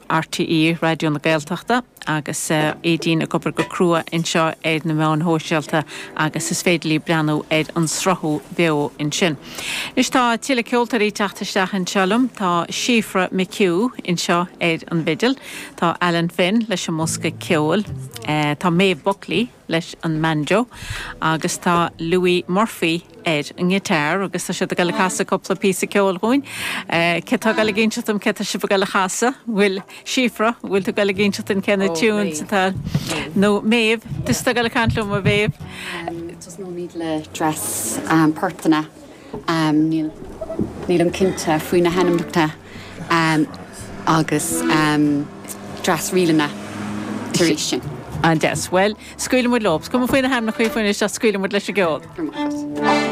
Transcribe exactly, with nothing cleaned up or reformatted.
RTÉ Raidió na Gaeltachta agus Aedín ag obair go crua anseo ar na meáin shóisialta agus is féidir libh breathnú ar an sruthú beo ansin. Anois tá tuilleadh ceoltóirí ag teacht isteach anseo liom, tá Síofra McHugh anseo ar an bhfidil, tá Alan Finn leis an mbosca ceoil, tá Maeve Buckley leis an mbanjo agus tá Louis Murphy ar an ngiotár agus tá siad ag dul a chasadh cúpla píosa ceoil dhúinn. Cé tá ag dul ag inseacht dom cé tá sibh ag dul a chasadh, bhfuil Síofra, bhfuil tú ag dul ag inseacht dúinn cé na tunes atá nó Maeve, tusa atá ag dul ag caint liom a Mhéabh. Tosnóimid le dreas portanna níl nílim cinnte faoi na hainmneacha agus dreas ríleanna tar éis sin. An-deas. Well, scaoilfidh muid leo. Is cuma faoi na hainmneacha faoin isteach scaoilfidh muid leis an gceol.